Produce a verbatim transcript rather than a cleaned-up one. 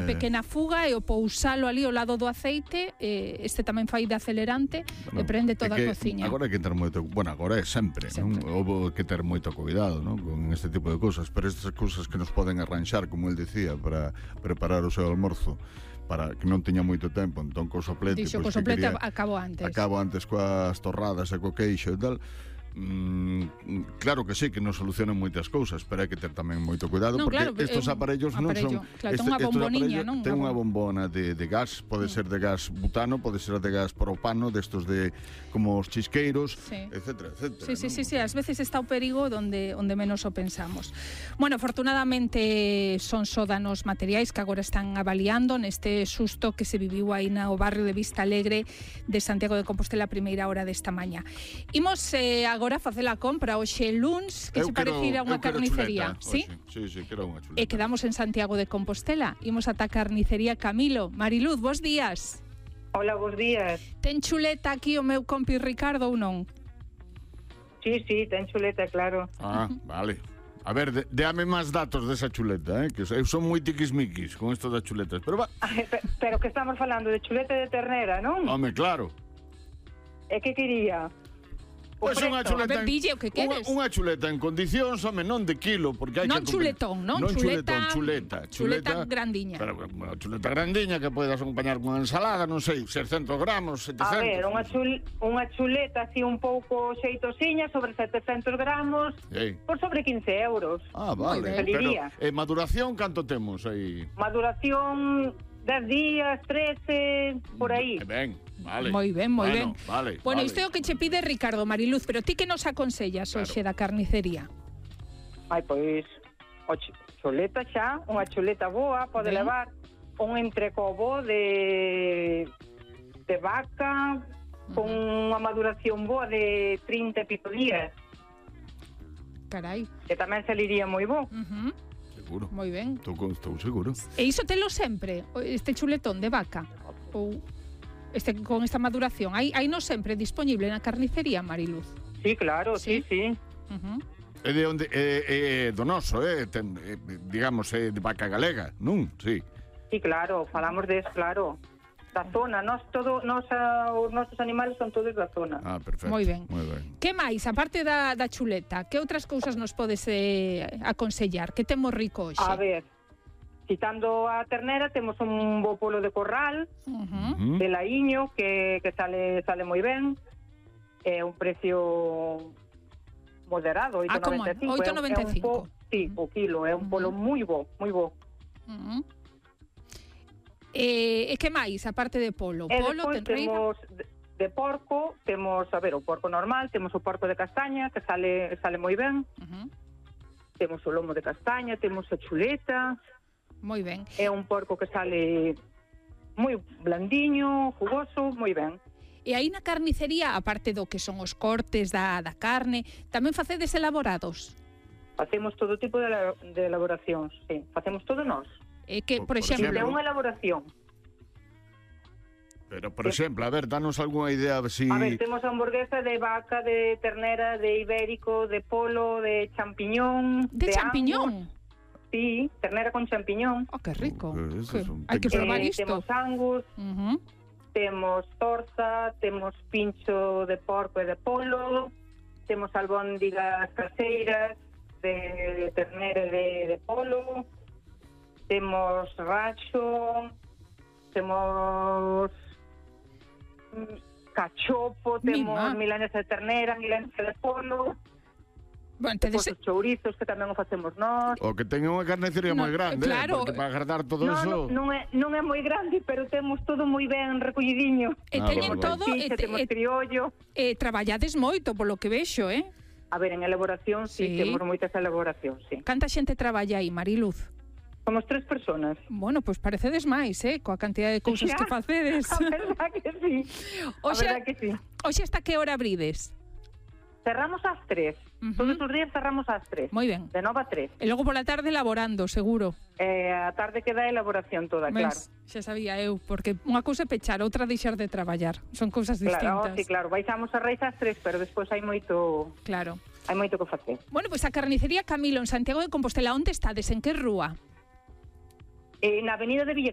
unha pequena fuga e o pousalo ali ao lado do aceite, eh, este tamén fai de acelerante bueno, e prende toda que, a cociña. Agora hai que ter moito, bueno, agora é sempre, sempre. Non? Houve que ter moito cuidado, non? Con este tipo de cousas, pero estas cousas que nos poden arranxar, como el dicía, para preparar o seu almorzo, para que non teña moito tempo, entón co soplete, Dixo, pues, co soplete quería, acabo antes. Acabo antes coas torradas e co queixo e tal. Mm, claro que sí, que nos solucionan moitas cousas, pero hai que ter tamén moito cuidado, no, porque claro, estos eh, aparellos non aparello. son claro, este, unha bomboniña, non? Ten unha bombona de, de gas, pode ser de gas butano, pode ser de gas propano, destos de como os chisqueiros, sí. etcétera, etcétera. Sí, sí, sí, sí, ás veces está o perigo onde onde menos o pensamos. Bueno, afortunadamente son sódanos materiais que agora están avaliando neste susto que se viviu aí no barrio de Vista Alegre de Santiago de Compostela a primeira hora desta mañá. Imos eh, agora facer a compra hoxe luns, que eu se parecira a unha carnicería, ¿sí? Sí, sí, quero unha chuleta. E quedamos en Santiago de Compostela. Imos ata a carnicería Camilo. Mariluz, bos días. Hola, bos días. Ten chuleta aquí o meu compi Ricardo ou non? Sí, sí, ten chuleta, claro. Ah, vale. A ver, de, déame máis datos desa chuleta, eh? Que eu son moi tiquismiquis con isto das chuletas, pero va. Ay, pero, pero que estamos falando de chuleta de ternera, non? Home, claro. E que quería? Pois pues unha chuleta, ver, Ville, o que queres? Unha, unha chuleta en condicións, home, non de kilo, porque hai non que chuletón, non, non chuleta, chuletón, chuleta, chuleta, chuleta grandiña. Pero unha chuleta grandiña que podes acompañar con ensalada, non sei, seiscentos gramos, setecentos. A ver, unha, chul, unha chuleta así un pouco xeitosiña, sobre setecentos gramos, sí. Por sobre quince euros. Ah, vale. Pero, eh, maduración, canto temos aí? Maduración, dez días, trece, por aí. Que ben. Vale. Moi ben, moi bueno, ben. Vale, bueno, vale. isto é o que che pide Ricardo, Mariluz, pero ti que nos aconsellas claro. Hoxe da carnicería? Ai, pois, o chuleta xa, unha chuleta boa, pode ben. Levar un entrecobo de de vaca uh-huh. con unha maduración boa de trinta e pico días. Carai. Que tamén saliría moi bo. Uh-huh. Seguro. Moi ben. Estou, estou seguro. E iso telo sempre, este chuletón de vaca? Ou... Este, con esta maduración, hai, hai non sempre disponible na carnicería, Mariluz? Sí, claro, sí, sí. sí. Uh-huh. É de onde é, é do noso, é, ten, é, digamos, é de vaca galega, non? Sí. Sí, claro, falamos des, claro. Da zona, nós todo, nos, uh, os nosos animales son todos da zona. Ah, perfecto. Moi ben. Moi ben. Que máis, aparte da, da chuleta, que outras cousas nos podes eh, aconsellar? Que temos rico hoxe? A ver, quitando a ternera, temos un bo polo de corral, uh-huh. de laiño, que, que sale sale moi ben. É un precio moderado, oito noventa e cinco. Ah, oito noventa e cinco. Sí, o kilo, é un polo uh-huh. moi bo, moi bo. Uh-huh. E, e que máis, aparte de polo? E polo, temos de, de porco, temos, a ver, o porco normal, temos o porco de castaña, que sale sale moi ben. Uh-huh. Temos o lomo de castaña, temos a chuleta. Moi ben. É un porco que sale moi blandiño, jugoso, moi ben. E aí na carnicería, aparte do que son os cortes da, da carne, tamén facedes elaborados? Facemos todo tipo de, de elaboracións, sí. Facemos todo nós. E que, por, por exemplo... É unha elaboración. Pero, por exemplo, a ver, danos algunha idea si... A ver, temos hamburguesa de vaca, de ternera, de ibérico, de polo, de champiñón... De, de champiñón? Angus. Sí, ternera con champiñón. Oh, qué rico. Uh, que... Hai que probar eh, isto. Temos angus, uh-huh. temos torza, temos pincho de porco e de polo, temos albóndigas caseiras de ternera e de, de polo, temos racho, temos cachopo, temos milanesa de ternera, milanesa de polo... Bueno, entonces... Os chourizos, que tamén o facemos nós. O que ten unha carnicería no, moi grande, claro. eh, porque para agradar todo no, eso... No, non, é, non é moi grande, pero temos todo moi ben recollidiño. E ah, teñen bueno, todo... Fixe, e, temos e, criollo. E traballades moito, polo que vexo, eh? A ver, en elaboración, sí, sí temos moitas elaboracións, sí. Canta xente traballa aí, Mariluz? Somos tres personas. Bueno, pois pues parecedes máis, eh? Coa cantidad de cousas ya, que facedes. A verdad que sí. Oxe, a verdad que sí. Oxe, hasta que hora abrides? Cerramos ás tres. Uh-huh. Todos os días cerramos ás tres. Moi ben. De nove a tres. E logo pola tarde elaborando, seguro. Eh, a tarde queda a elaboración toda, Mes, claro. Xa sabía eu, porque unha cousa é pechar, outra deixar de traballar. Son cousas distintas. Claro, sí, claro. Baixamos a Reis ás tres, pero despois hai moito... Claro. Hai moito que facer. Bueno, pois pues a carnicería Camilo en Santiago de Compostela, onde estades? En que rúa? Eh, na avenida de Villa